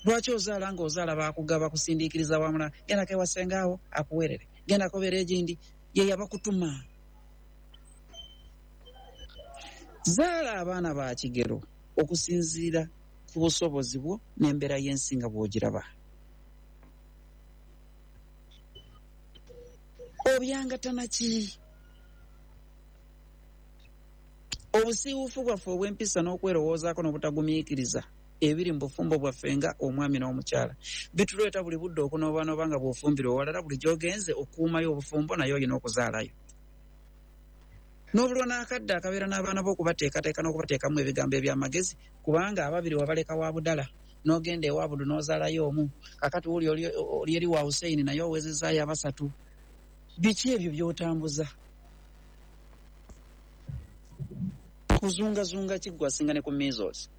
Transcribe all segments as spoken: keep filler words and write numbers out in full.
Lwaki ozaala ng'ozaala baakugaba kusindiikiriza wamula? Gendako ewasengaawo akuweerere, gendako obeera egindi ye yabakutuma. Zaala abaana ba kigero okusinziira ku busobozi bwo n'embeera y'ensi nga bw'ogiraba. Obyangatana ki? Obusiiwuufu bwaffe obw'empisa n'okwerowoozaako n'obutagumiikiriza ebiri mu bufumbo bwaffe nga omwami n'omukyala bituleeta buli budde okunoobanoba nga bw'ofumbira owalala, buli gy'ogenze okuumayo obufumbo naye olina okuzaalayo. N'obulwa n'akadde akabeera n'abaana bo okubateekateeka n'okubateekamu ebigambo eby'amagezi, kubanga ababiri wabaleka wa budala n'ogenda ewa Budu n'ozaalayo omu, kakati wuli oli eri wa Hussein naye owezezaayo abasatu. Biki ebyo by'otambuza? Kuzungazunga ki ggwe asinga ne ku measles?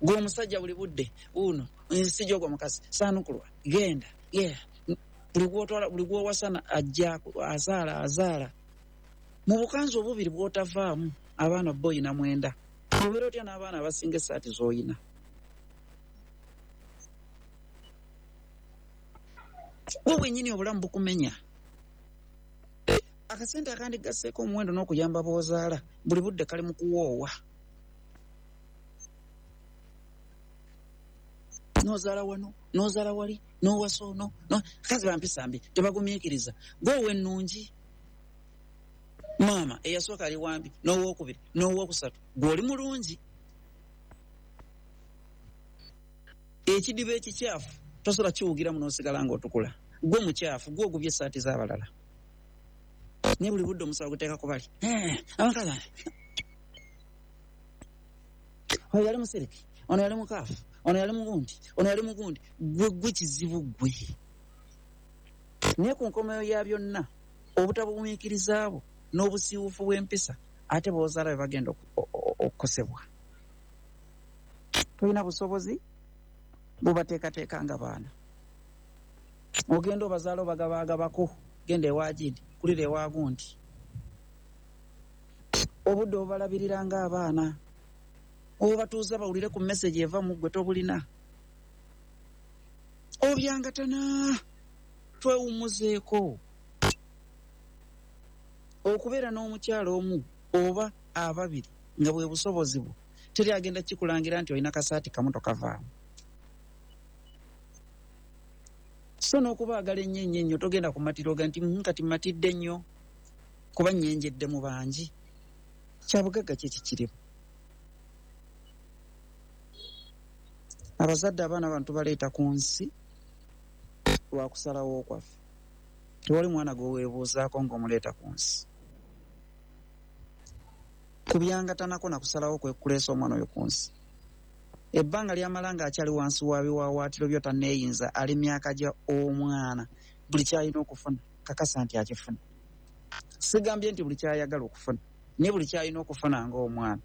Gwe omusajja buli budde uno nsijja ogwo mukazi saanukulwa genda yeah. Buli gw'otwala, buli gw'owasana ajja azaala azaala mu bukanzu obubiri bw'otavaamu abaana bo oyina mwenda. Obeera otya n'abaana abasinga essaati z'oyina? Gwe bwennyini obulamu bukumenya. Akasente akandigasseeko omuwendo n'okuyamba b'ozaala buli budde kali mu kuwoowa. N'ozaala wano, n'ozaala wali, n'owasa ono, bakazi bampisa mbi tebagumiikiriza. Gwe ow'ennungi maama eyasooka ali wambi, n'owookubiri, n'owookusatu, gwe oli mulungi. Ekidiba ekikyafu tosobola kiwugiramu n'osigala ng'otukula. Gwe mukyafu, gwe ogubye essaati z'abalala. Naye buli budde omusawo guteeka ku bali. Abakazi oyo yali musiriki, ono yali mukaafu, ono yali mugundi, ono yali mugundi. Gwe gwe kizibu gwe. Naye ku nkomeyo ya byonna obutabugumiikiriza bwo n'obusiiwuufu bw'empisa ate b'ozaala be bagenda okukosebwa. Tolina busobozi bubateekateeka nga baana. Ogenda obazaala obagabaagabako, genda ewa gindi, kulira ewa gundi. Obudde obubalabirira ng'abaana, obatuuza bawulire ku message eva mu ggwe tobulina. Obyangatana, twewummuzeeko. Okubeera n'omukyala omu oba ababiri nga bwe busobozi bwo, teri agenda kikulangira nti olina kasaati kamu tokavaamu. So n'okubaagala ennyo ennyo ennyo togenda kumatira oga nti kati matidde nnyo kuba nnyenjedde mu bangi. Kya bugagga ki ekikirimu? Abazadde abaana bano tubaleeta ku nsi lwa kusalawo kwaffe. Tewali mwana gwe weebuuzaako ng'omuleeta ku nsi. Kubyangatanako na kusalawo kwe kuleesa omwana oyo ku nsi. Ebbanga ly'amala ng'akyali wansi wa biwaawaatiro byo tanneeyinza, ali myaka gya omwana, buli ky'alina okufuna kakasa nti akifuna. Sigambye nti buli ky'ayagala okufuna, naye buli ky'alina okufuna ng'omwana.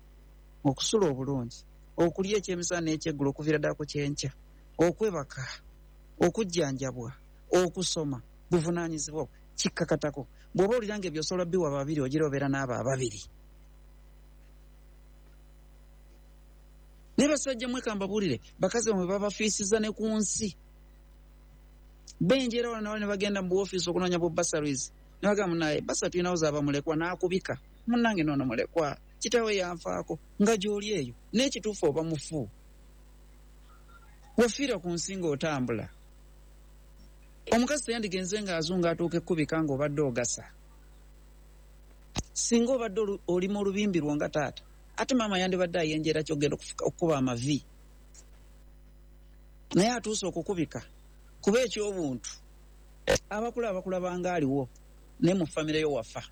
Okusula obulungi, okulya ekyemisana n'ekyeggulo okuviira ddala ku kyenkya, okwebaka, okujjanjabwa, okusoma, buvunaanyizibwa kikkakatako. Bw'oba owulira ng'ebyo osobola biwa babiri, ogira obeera n'abo ababiri. Naye basajja mmwe ka mbabuulire, bakazi bamwe babafiisiza ne ku nsi. Benjeera wano nawali ne bagenda mu buwoofiisi okunoonya bu bursaries. Ne bagamba munnaye basa tulinawo z'abamulekwa n'akubika. Munnange noono mulekwa, kitaawe yanfaako, nga gy'oli eyo. N'ekituufu oba mufu. Wafiira ku nsi ng'otambula. Omukazi teyandigenze ng'azunga atuuka ekkubika ng'obadde ogasa. Singa obadde olima olubimbi lwo nga taata, ate maama yandibadde ayenjera ky'ogenda okukuba amavi. Naye atuuse okukubika kuba eky'obuntu abakula abakulaba ng'aliwo, naye mu famire yo wafa.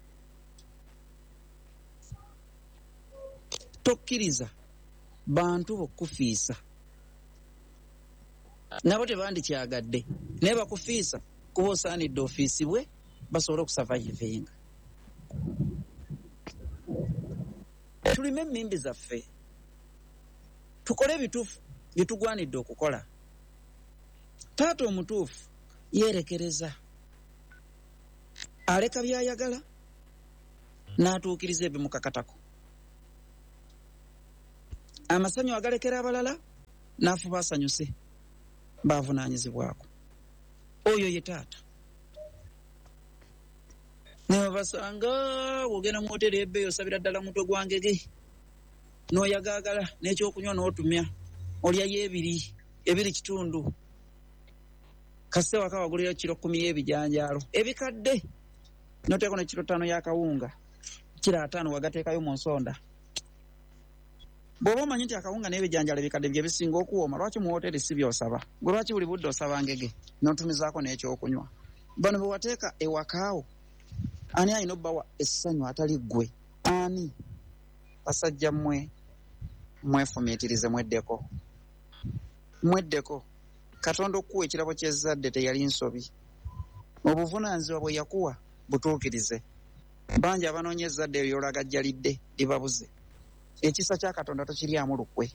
Tokkiriza bantu bokufiisa. Nabo tebandikyagadde, naye bakufiisa kuba osaanidde ofiisibwe basobole okusavayivinga. Tulime emmimbi zaffe, tukole ebituufu bye tugwanidde okukola. Taata omutuufu yeerekereza, aleka by'ayagala n'atuukiriza ebimukakatako. Amasanyu agalekera abalala N'afuba asanyuse baavunaanyizibwako. Oyo ye taata. Nebasanga wogenda mu hoteri ebbeeyi osabira ddala mutwe gwa ngege n'oyagaagala n'ekyokunywa n'otumya olyayo ebiri ebiri kitundu kasite waka wagulirayo kiro kkumi y'ebijanjaalo ebikadde n'oteekako ne kiro ttaano y'akawunga kiro ataano wagateekayo mu nsonda. Bw'oba omanyi nti akawunga n'ebijanjaalo ebikadde bye bisinga okuwooma, lwaki mu hoteri si by'osaba? Gwe lwaki buli budde osaba ngege n'otumizaako n'ekyokunywa? Bano bwe wateeka ewakaawo ani alina obbawa essanyu atali ggwe? Ani? Basajja mmwe mwefumiitirize, mweddeko, mweddeko. Katonda okuwa ekirabo ky'ezzadde teyali nsobi. Obuvunaanyizibwa bwe yakuwa butuukirize. Bangi abanoonya ezzadde eryo ly'olagajjalidde libabuze. Ekisa kya Katonda tokiryamu lukwe.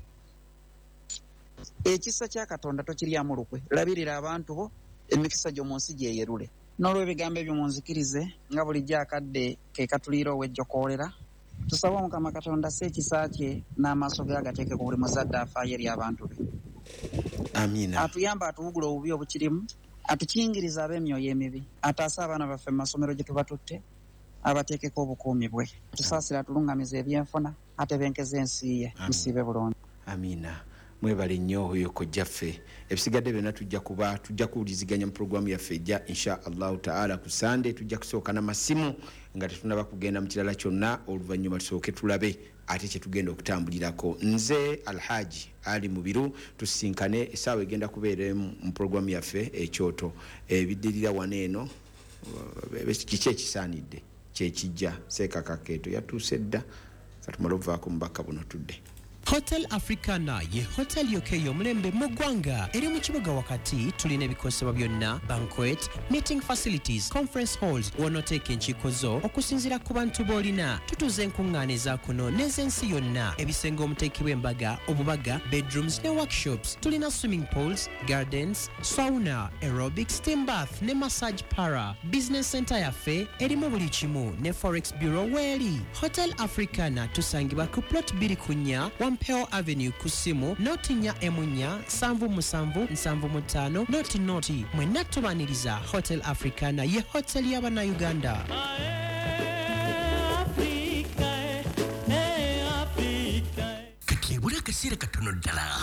Ekisa kya Katonda tokiryamu lukwe. Labirira abantu bo, emikisa gyo mu nsi gyeyerule. N'olw'ebigambo ebyo munzikirize nga bulijjo akadde ke katuliira ow'ejjokoolera. Tusabe Omukama Katonda asse ekisa kye n'amaaso ge agateeke ku buli muzadde afaayo eri abantu be. Amiina. Atuyambe atuwugule obubi obukirimu, atukingirize ab'emyoyo emibi, ataase abaana baffe mu masomero gye tubatutte, abateekeko obukuumi bwe. Tusaasire atulungamize ebyenfuna, atebenkeze ensi ye. Musiibe bulungi. Amiina. Mwebale nnyo oyo kojjaffe. Ebisigadde byonna tujja kuba tujja kuwuliziganya mu pulogulaamu yaffe ejja insha Allahu taala ku Sande. Tujja kusooka n'amasimu nga tetunaba kugenda mu kirala kyonna, oluvannyuma tusooke tulabe ate kye tugenda okutambulirako. Nze Alhaji Ali Mubiru, tusisinkane essaawa egenda kubeera emu mu pulogulaamu yaffe ekyoto. Ebiddirira wano eno kiki ekisaanidde kyekijja. Seekakakeeto yatuuse dda, katumale okuvaako mubaka buno tudde. Hotel Africana ye hotel yokka ey'omulembe mu ggwanga eri mu kibuga wakati. Tulina ebikozesebwa byonna, banquet, meeting facilities, conference halls w'onooteeka enkiiko zo okusinziira ku bantu b'olina. Tutuuza enkuŋŋaana eza kuno n'ez'ensi yonna, ebisenge omuteekebwa embaga, obubaga, bedrooms ne workshops. Tulina swimming pools, gardens, sauna, aerobic, steam bath ne massage para. Business center yaffe erimu buli kimu ne forex bureau weeri. Hotel Africana tusangibwa ku plot bbiri ku nnya Wampeo Avenue ku ssimu noti nnya emu nnya nsanvu musanvu nsanvu mu ttaano noti noti. Mwenna tubaaniriza. Hotel Africana ye hotel y'Abannayuganda. Kati ebula akaseera katono ddala,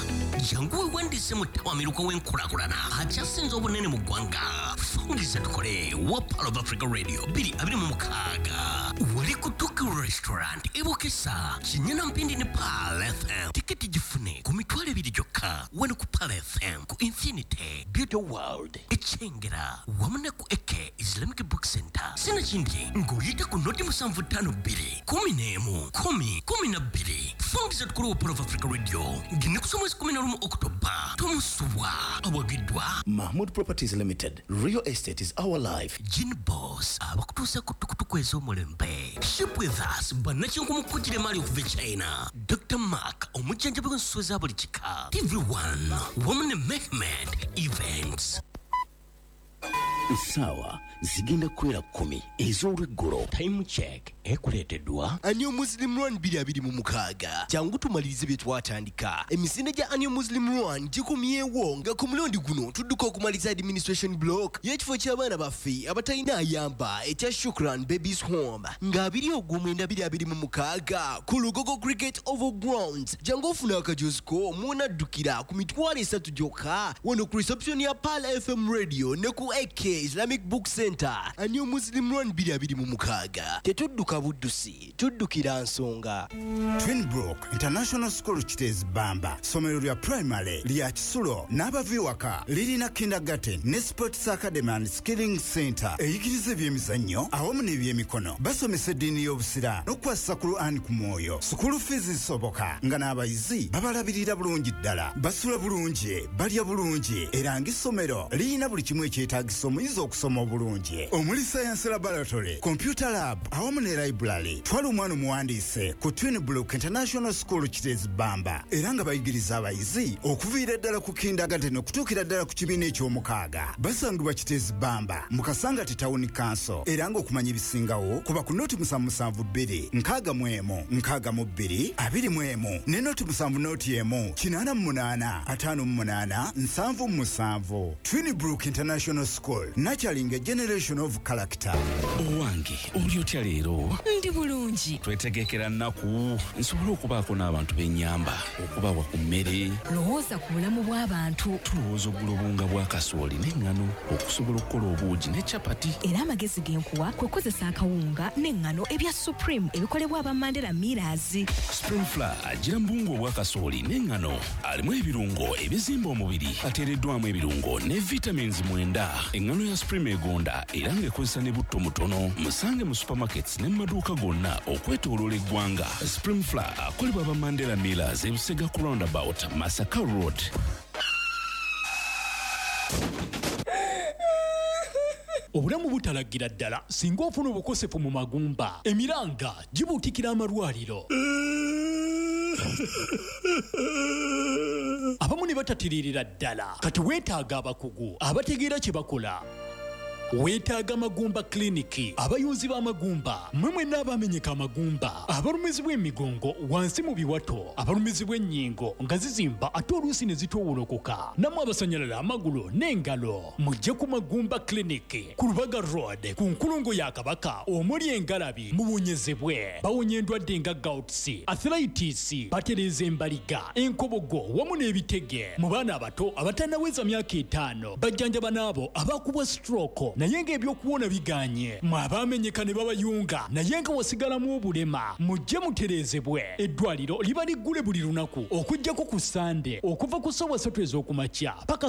jangu weewandiise mu ttawamiruka w'enkulaakulana akyasinze obunene mu ggwanga. Fungiza tukole wa Pearl of Africa Radio bbiri abiri mu mukaaga wali ku Tokyo Restaurant e Bukesa, Kinyana Mpindi ne Pearl F M. Tiketi gifune ku mitwalo ebiri gyokka wano ku Pearl F M, ku Infinity Beauty World e Kyengera wamu ne ku Eke Islamic Book Center. Sinakindi ng'oyita ku noti musanvu ttaano bbiri kumi n'emu kumi kumi na bbiri. Fungiza tukole wa Pearl of Africa Radio ng'ennaku z'omwezi kumi na lumu Oktoba. Tomusubwa. Awagiddwa Mahmood Properties Limited. Real estate is our life. Gin Boss abakutuusa ku tukutuku ez'omulembe. Ship with us bannakinku mu kujjira emaali okuva e China. Doctor Mark omujjanjabi w'ensolo za buli kika. T V one wamu ne Mehmed Events. Essaawa zigenda kuwera kkumi ez'olweggulo. Time check ekuleeteddwa Annual Muslim Run bbiri abiri mu mukaaga. Jangu tumalirize bye twatandika. Emisinde gya Annual Muslim Run gikomyewo nga ku mulundi guno tudduka okumaliza administration block y'ekifo ky'abaana baffe abatalina ayamba ekya Shukran Babies Home nga abiri ogw'omwenda bbiri abiri mu mukaaga ku Lugogo Cricket Oval Grounds. Jangu ofuna akajozi ko mw'onaddukira ku mitwalo esatu gyokka wano ku reception ya Pearl F M Radio ne ku A K Islamic Book Center. Annual Muslim Run bbiri abiri mu mukaaga. Tetudduka buddusi, tuddukira nsonga. Twinbrook International School Kiteezi Bamba, ssomero lya primary lya kisulo n'abava ewaka, lirina kindergarten ne sports academy and skilling center eyigiriza ebyemizannyo awamu n'ebyemikono. Basomesa eddiini y'Obusiraamu n'okukwasisa Quran ku mwoyo. School fees zisoboka nga n'abayizi babalabirira bulungi ddala, basula bulungi, balya bulungi, era ng'essomero lirina buli kimu ekyetaagisa omuyizi okusoma obulungi, omuli science laboratory, computer lab awamu ne library. Twala omwana omuwandiise ku Twinbrook International School Kiteezi Bamba, era nga bayigiriza abayizi okuviira ddala ku kindergarten okutuukira ddala ku kibiina eky'omukaaga. Basangibwa Kiteezi Bamba mu Kasangati Town Council, era ng'okumanya ebisingawo kuba ku noti musanvu musanvu bbiri nkaaga mu emu nkaaga mu bbiri abiri mu emu ne noti musanvu noti emu kinaana mu munaana ataano mu munaana nsanvu mu musanvu. Twinbrook International School, nurturing a generation of character. Owange, oli otya leero? Ndi bulungi. Twetegekera nnaku nsobole okubaako n'abantu b'ennyamba, okubawa ku mmere. Lowooza ku bulamu bw'abantu. Tulowooza ogula obuwunga bwa kasooli n'eŋŋano okusobola okukola obuugi ne capati. Era amagezi ge nkuwa kwe kukozesa akawunga n'eŋŋano ebya Supreme ebikolebwa aba Mandela Millers. Supreme Flour agira mu buwunga obwa kasooli n'eŋŋano, alimu ebirungo ebizimba omubiri, ateereddwamu ebirungo ne vitamins mwenda. Eŋŋano ya Supreme egonda era ng'ekozesa ne butto mutono. Musange mu supermarkets ne mu maduuka gonna okwetooloola eggwanga. Supreme Flour akolebwa aba Mandela Millers, ebusega ku roundabout Masaka Road. Obulamu butalagira ddala singa ofuna obukosefu mu magumba, emiranga gibuutikira amalwaliro, abamu ne batatiririra ddala. Kati weetaaga abakugu abategeera kye bakola. Weetaaga Magumba Clinic, abayunzi b'amagumba, mmwe mwenna abamenyeka amagumba, abalumizibwa emigongo wansi mu biwato, abalumizibwa ennyingo nga zizimba ate oluusi ne zitoowolokoka, nammwe abasanyalala amagulu n'engalo, mujje ku Magumba Clinic ku Lubaga Road ku nkulungo ya Kabaka omuli engalabi, muwonyezebwe. Bawonya endwadde nga gouts, arthritis, batereeza embaliga, enkobogo wamu n'ebitege. Mu baana abato abatannaweza myaka etaano, bajjanjaba n'abo abakubwa stroke naye ng'ebyokuwona biganye. Mwe abaamenyeka ne babayunga naye nga wasigalamu obulema, mujje mutereezebwe. Eddwaliro liba liggule buli lunaku okuggyako ku Sande okuva ku ssaawa ssatu ez'okumakya paka